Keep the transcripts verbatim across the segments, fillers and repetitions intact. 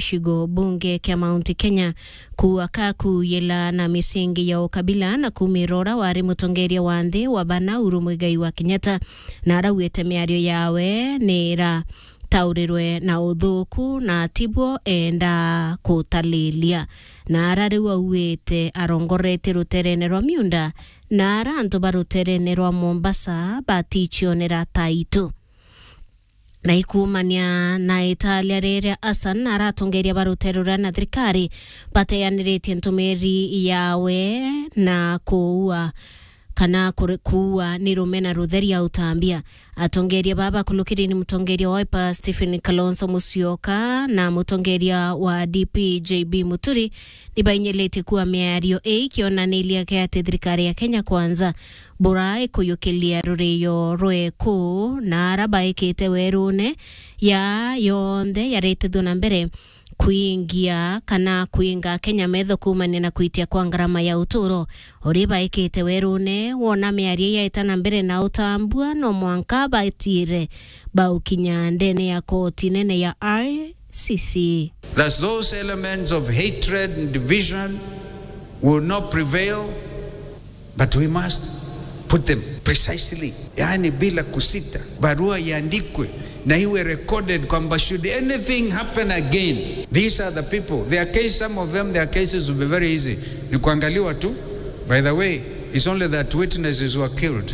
gicigo bunge kia Mount Kenya, kuua ka kuuyila na misingi ya ukabila na kuumira uria wari mutongeria wa nthi wa bana Uhuru Muigai wa Kenyatta, na arauite miario yawe ni ira taurirwe na uthuku na tibwo enda kutalilia. Na ara riu auite arongorete ruterene rwa miunda, na ara antu ba ruterene rwa Mombasa baticionera taitu. Na ikumania na italia riria Hassan na aratongeria ba rutere ruria na thirikari bateaniritie ntumiri yawe na kuua kana kuri-, kuua ni rume na rutheri ya utambia. Atongeria baba bakulukiri ni mutongeria wa Wiper Stephen Kalonzo Musyoka na mutongeria wa D P J B Muturi ni bainyilitie kuua miario ii ikionanilia ati thirikari ya Kenya Kwanza bura ikuyukilia rurio rweku na ara baikite werune ya yonthe yaritithua na mbere kuingia kana kuinga Kenya metho kuumania na kuitia kwa ngarama ya uturo. Uri baikite werune, wona miario yaita na mbere na utambua, no mwanka batiire baukinya ndene ya koti nene ya I C C. Thus, those elements of hatred and division will not prevail, but we must put them precisely, yaani bila kusita, barua iandikwe na iwe recorded kwamba should anything happen again, these are the people. Their case, some of them, their cases will be very easy. Ni kuangaliwa tu. By the way, it's only that witnesses were killed.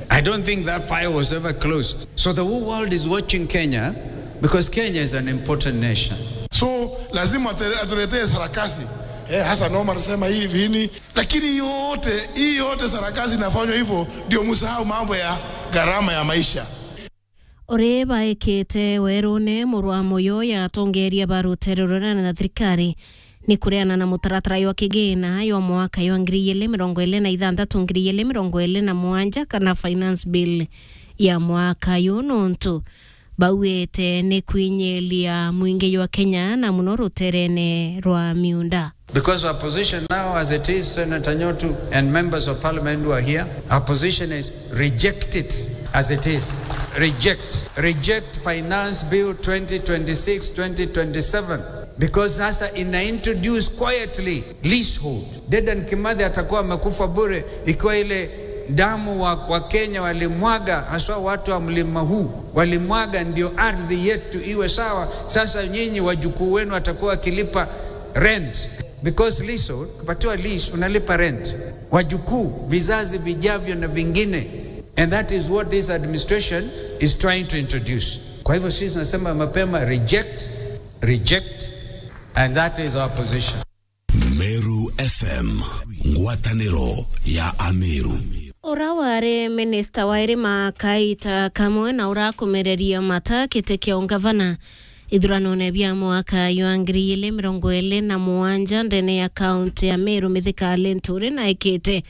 I don't think that file was ever closed. So the whole world is watching Kenya because Kenya is an important nation. So, lazima ate-, atuletee sarakasi. Eh, Hassan Omar anasema hivi, hivi. Lakini yote, hii yote sarakasi inafanywa hivyo, ndio msahau mambo ya gharama ya maisha. Uri baikite werune, murwa moyo ya atongeria ba rutere ruria na thirikari ni kureana na mutaratara jwa kigina jwa mwaka jwa ngiri igiri mirongo iri na ithanthatu, ngiri igiri mirongo iri na mugwanja kana finance bill ya mwaka yu, nontu bauite ni kwinyilia mwingi jwa Kenya na muno ruterene rwa miunda. Because our position now as it is, Senator Nyotu and members of parliament who are here, our position is reject it as it is. Reject. Reject Finance Bill twenty twenty-six, twenty twenty-seven. Because sasa ina introduce quietly leasehold. Dedan Kimathi atakuwa amekufa bure ikiwa ile damu wa, wa Kenya walimwaga, haswa watu wa mlima huu, walimwaga ndio ardhi yetu iwe sawa. Sasa nyinyi wajukuu wenu watakuwa wakilipa rent. Because leasehold, ukipatiwa lease, unalipa rent. Wajukuu, vizazi vijavyo na vingine. And that is what this administration is trying to introduce. Kwa hivyo sisi tunasema mapema, reject, reject, and that is our position. Meru F M, ngwataniro ya Ameru. Ura wari minista wa irima kaita kamwe na urakumereria mata kiti kia ungavana ithuranone bia mwaka jwa ngiri igiri mirongo iri na mugwanja ndene ya kaunti ya Meru, Mithika Linturi naikite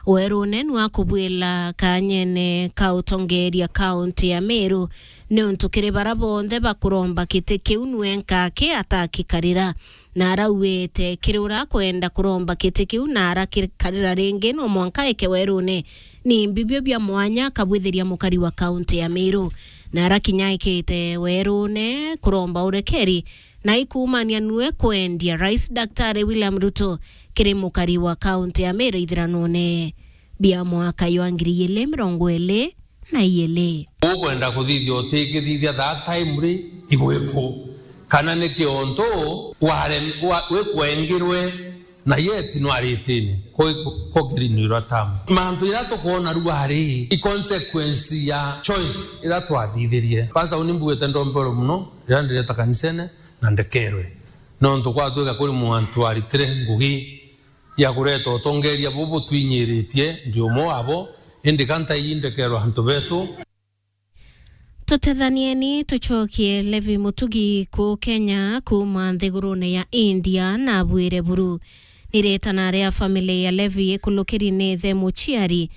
werune nwa kubwila kanyene ka utongeria kaunti ya Meru, niuntu kiri bara bonthe bakuromba kiti kiu nwe nkaki atakikarira. Na arauite kiri ura akwenda kuromba kiti kiu na arakikarira ringi, no mwanka eke werune ni mbibio bia mwanya akabwithiria mukari wa kaunti ya Meru. Na arakinya ekite werune kuromba urekeri na ikuumania nue kwendia Rais Daktari William Ruto kiri mukari wa kaunti ya Meru ithiranone bia mwaka jwa ngiri igiri mirongo iri na igiri. Ukwenda kuthithia utikithithia that time ri igwiku? Kana ni kiontu ware-, wa-, wikwengirwe na yet nwaritini ko, ko green ira tamu? Mantu ira tukwona ruari i consequence ya choice ira twathithirie. Pastor, uni mbuite ndombero muno ira ndireta kanisene na ndekerwe, nontu kwatwika kuri mwantu aritire ngugi ya kureta utongeria bubu butwinyiritie, ndi umwe wabo, indi ka ntaiji ndekerwa antu betu. Tutethanieni tucokie Levi Mutugi kuu Kenya kuuma nthigurune ya India na abwire buru. Ni ritana ria family ya Levi ikulukiri ni ithe muciari,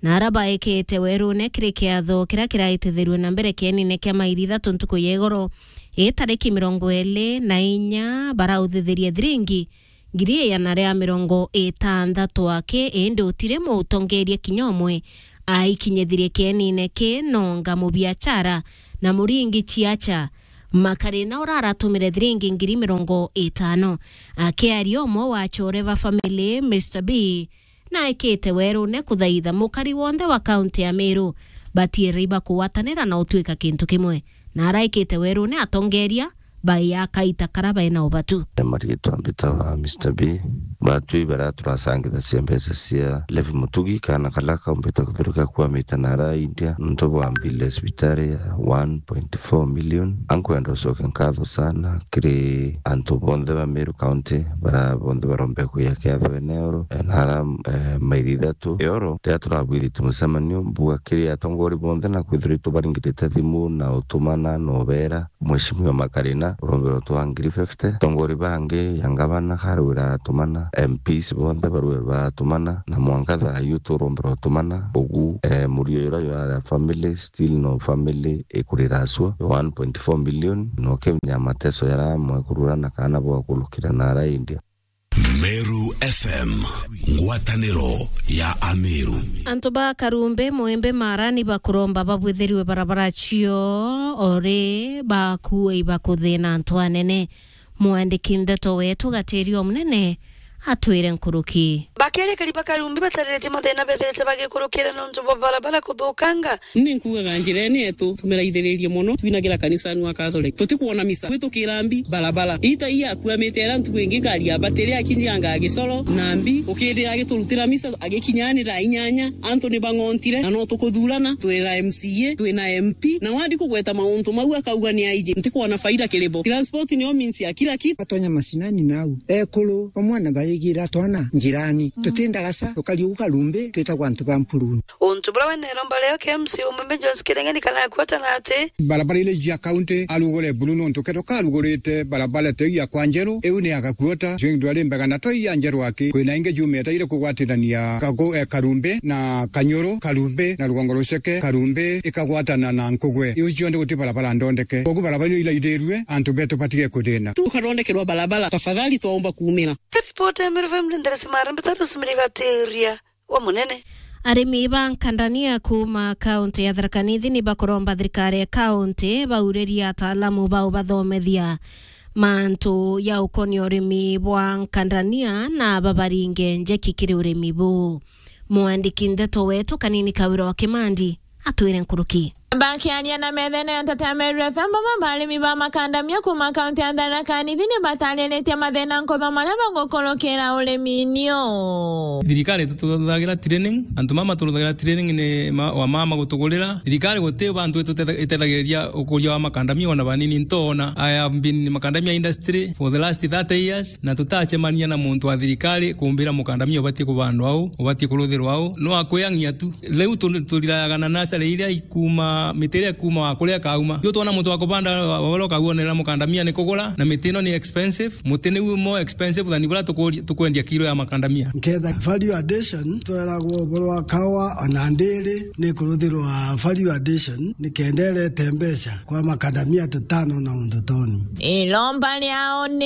na ara baikite werune kiri kiatho kiria kiraitithirue na mbere kienine kia mairi ithatu ntuku ya igoro, i tariki mirongo iri na inya, barauthithirie thiringi ngiri igana ria mirongo itantatu aki, indi utiri mutongeria kinya umwe aikinyithirie kienine ki, nonga mubiachara na muringi ciacha Makarina ura aratumire thiringi ngiri mirongo itano. Akiaria, umwe wa achore ba family, Mister B, naikite werune kuthaitha mukari wonthe wa kaunti ya Meru batiere ibakugwatanira na utwika kintu kimwe. Na araikite werune atongeria bai akaita kara baina ubatu. Maritwa mbitawa Mister B. Batwi bara turacangithacia mbeca cia Levi Mutugi, kana kala kaumbite kuthiruka kwamite nara India, nontu bwa mbili ya cibitari ya one point four million. Ankwenda ucoke nkatho sana kiri antu bonthe ba Meru County, bara bonthe barombe kuya kiatho ene oro, eh, nara, eh, mairi ithatu. Eoro, riria turabwithite mucemanio, mbuga kiri atongori bonthe na kwithirwa itubaringirite thimu na utumana na ubera, Mheshimiwa Makarina, urombe utwa ngiri fifty. Atongori bangi ya ngavana karwira atumana, M Ps bonthe barwe batumana, na mwanka thaa yu turombe utumana. Ugu, eh, murio jura jurari a family, still no family ikurira acua, one point four million, no kemenya mateso jara amwe kurura na kana bwa kulukira nara India. Meru F M, ngwataniro ya Ameru. Antu ba Karumbe, Mwembe, Mara ni bakuromba babwithirwe barabara cio ori bakue ibakuthina antu anene. Mwandiki ndeto wetu Gatirio Munene atwire nkuruki. Bakerekeri ba Karumbe batariritie mathina bethirite bagikurukira nontu bwa barabara kuthukanga. Ni nkugaga njirene yetu tumiraithiririe mono, twinagira kanisa nwa Catholic. Tutikwona misa. Gwitukira mbi barabara. Ita iya akuamite era ntuku ingi ngari ya batiri akinyanga Gisoro na mbi, ukirira agiturutira misa agikinya ni thaa inyanya. Antu ni bang'ontire na no tukuthurana, twina M C A, twina M P. Na wandi kugweta mauntu mau akauga ni aiji. Ntikwona faida kiribo. Transport niyo means ya kila kitu. Atonya macinani nau. Ekuru, bamwe na barigira twana njirani. Tutindaga ca, tukari ugu Karumbe, twitagwa antu ba mpuruni. Untu buria we na iromba rio kia M C A umwe Jones Kirengeni kana akwatana ati. Barabara ile ijia county, arugure buru nontu keto karugurite barabara teu ya kwa Njeru, iu ni ya Gakuota, cio ndu ari mbega na toi ya Njeru aki. Kwina ingi jumite ire kugwatirania Kago-, eh, Karumbe na Kanyoro, Karumbe na Rugongo Ruceke, Karumbe ikagwatana na Nkugwe. Iu cionthe guti barabara ndondeke. Kogu barabara iu ilaithirue, antu betu batige kuthina. Tukathondekerwa barabara, tafadhali twaomba kuumira. Ripoti ya Meru F M ni Nderesi Marembe, Tarus Mirigateria wa Munene. Arimi ba nkandania kuuma kaunti ya Tharaka Nithi ni bakuromba thirikari ya kaunti bauririe ataalamu ba ubathomethia mantu ya ukonia urimi bwa nkandania na babaringe njeki kiri urimi buu. Mwandiki ndeto wetu Kanini Kawira wa Kimandi atwire nkuruki. Bakiaria na methene ya Nteto ya Meru F M, bamwe ba arimi ba makandamia kuuma kaunti ya Tharaka Nithi ni batariritie mathina nkotho maria bagukurukira urimi-ini uu. Thirikari itututhagira training, antu mama turuthagira training ni ma-, wa mama gutugurira. Thirikari guti bantu itutetha-, itethagiriria ukuria wa makandamia ona banini ntona. I have been in makandamia industry for the last thirty years, na tutacemania na muntu wa thirikari kumbira mukandamia ubatie kubandwa au, ubatie kuruthirwa au. No akwiyang'ia tu. Riu tu-, turirayaga na nasari iria ikuuma, miti iria ikuuma wa kuria kauma. Yu twona muntu wa kubanda wa, wa, wa kauonera mukandamia ni kugura, na miti ino ni expensive. Muti niu more expensive than buria tukuri-, tukwendia kilo ya makandamia. Nketha value addition, tweragwo uboro wa kawa ona ndiri ni kuruthirwa value addition, ni kenda irete mbeca kwa makandamia tutano na undu toni. Iromba riao ni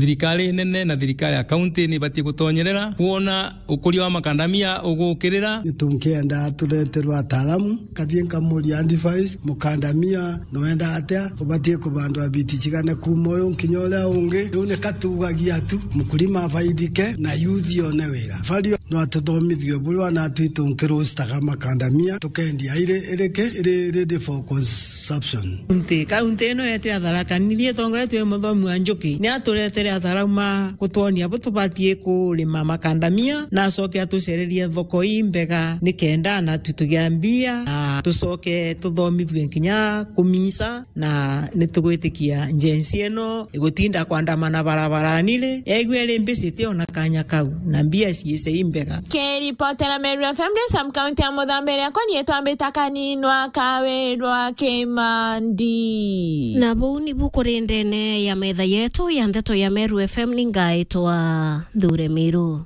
thirikari nene na thirikari ya kaunti ni ibatie gutonyerera kwona ukuria wa makandamia ugukirira. Ni tunkienda tureterwa ataalamu, kathie nkamuria advice, mukandamia nwenda atia, ubatie kubandwa biti cigana kuuma uyu nkinya uria ungi. Riu ni katugagia tu, mkulima afaidike na youth yone wira. Value no atuthomithue buria wana twitu nkirustaga makandamia, tukendia iri, iri ki, iri ready for consumption. Nti kaunti ino yetu ya Tharaka Nithi itongoretue ni muthomi wa Njuki, ni aturetere ataalamu ma gutwonia bu tubatie kurima makandamia, na acoke atucererie thoko imbega ni kenda na tu tugia mbia, na tucoke tuthomithue nkinya kumisa, na ni tugwitikia Gen Z ino igutinda kwandamana barabarani ri, yaigua iri mbicite ona kanya kau, na mbia ciice imbega. Kiripotera Meru F M ndi sub county ya Muthambe, riakwa nietwa Mbita Kaninwa Kawirwa Kimandi. Na buu nibu kuri ndene ya metha yetu ya ndeto ya Meru F M, ni ngaitwa Nthure Miru.